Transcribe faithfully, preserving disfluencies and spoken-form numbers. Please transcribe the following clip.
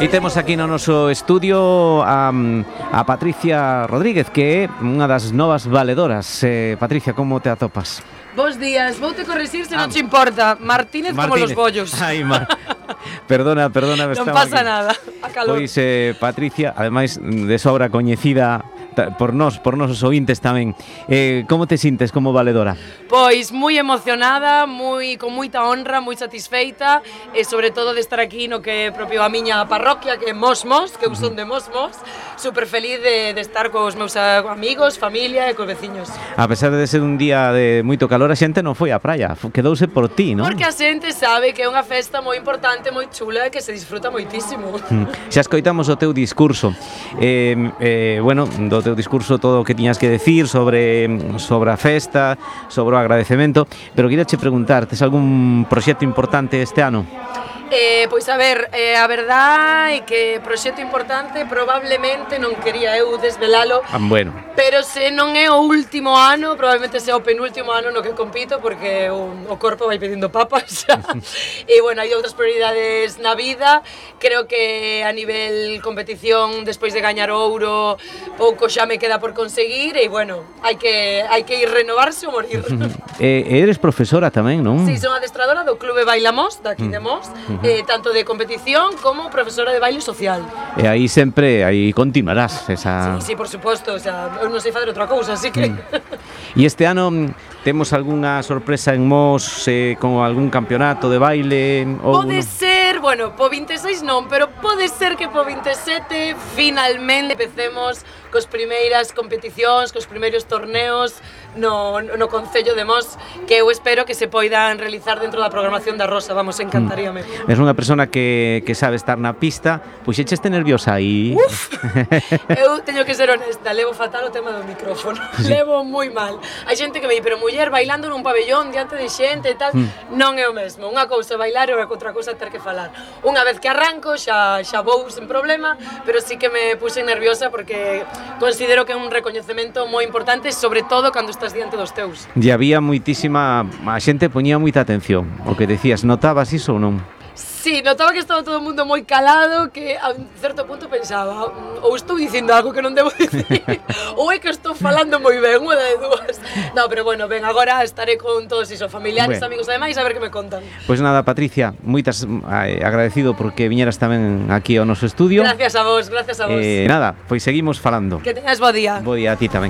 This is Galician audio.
E temos aquí no noso estudio a, a Patricia Rodríguez, que é unha das novas valedoras. eh, Patricia, como te atopas? Bos días, vou te corregir se ah. non te importa. Martínez, Martínez como los bollos. Ai, Mar... Perdona, perdona. Non pasa aquí. Nada, a calor. Pois eh, Patricia, ademais de sobra coñecida por nós, por nosos ointes tamén. Eh, como te sintes como valedora? Pois moi emocionada, moi con moita honra, moi satisfeita e sobre todo de estar aquí no que é propio a miña parroquia, que é Mosmos, que eu son de Mosmos. Super feliz de, de estar cos meus amigos, familia e cos veciños. A pesar de ser un día de moito calor, a xente non foi á praia, quedouse por ti, non? Porque a xente sabe que é unha festa moi importante, moi chula e que se disfruta moitísimo. Mm. Xa escoitamos o teu discurso. Eh, eh, bueno, do teu discurso todo o que tiñas que decir sobre sobre a festa, sobre o agradecemento, pero queria che preguntar, tes algún proxecto importante este ano? Eh, pois a ver, eh, a verdade é que proxecto importante probablemente non quería eu desvelalo, ah, bueno. Pero se non é o último ano, probablemente sea o penúltimo ano no que compito, porque o, o corpo vai pedindo papas. E bueno, hai outras prioridades na vida. Creo que a nivel competición, despois de gañar ouro, pouco xa me queda por conseguir e bueno, hai que hai que ir renovarse ou morir. E eres profesora tamén, non? Sí, son adestradora do Clube Bailamos, daqui de Mos. Eh, tanto de competición como profesora de baile social. E aí sempre, aí continuarás esa... Sí, sí, por suposto, o sea, eu non sei fazer outra cousa, así que... Mm. E este ano temos algunha sorpresa en Mos eh, con algún campeonato de baile? Ou pode ser, bueno, po vinte e seis non, pero pode ser que po vinte e sete finalmente empecemos cos primeiras competicións, cos primeiros torneos no, no Concello de Mos, que eu espero que se poidan realizar dentro da programación da Rosa, vamos, encantaríame. Mm. Es unha persona que, que sabe estar na pista, pois echaste nerviosa aí? Uf, eu teño que ser honesta, levo fatal o tema do micrófono, sí. Levo moi mal. Hai xente que me di, pero muller, bailando nun pabellón diante de xente e tal, mm. non é o mesmo. Unha cousa é bailar e outra cousa é ter que falar. Unha vez que arranco xa, xa vou sen problema, pero sí que me puse nerviosa porque considero que é un recoñecemento moi importante, sobre todo cando estás diante dos teus. E había moitísima, a xente poñía moita atención, o que decías, notabas iso ou non? Sí, notaba que estaba todo o mundo moi calado, que a un certo punto pensaba, ou estou dicindo algo que non debo dicir, ou é que estou falando moi ben, unha de dúas. No, pero bueno, ben, agora estaré con todos iso, familiares, bueno, amigos e demais, a ver que me contan. Pois pues nada, Patricia, moitas eh, agradecido porque viñeras tamén aquí ao noso estudio. Gracias a vos, gracias a vos. Eh, nada, pois seguimos falando. Que teñas bo día. Bo día a ti tamén.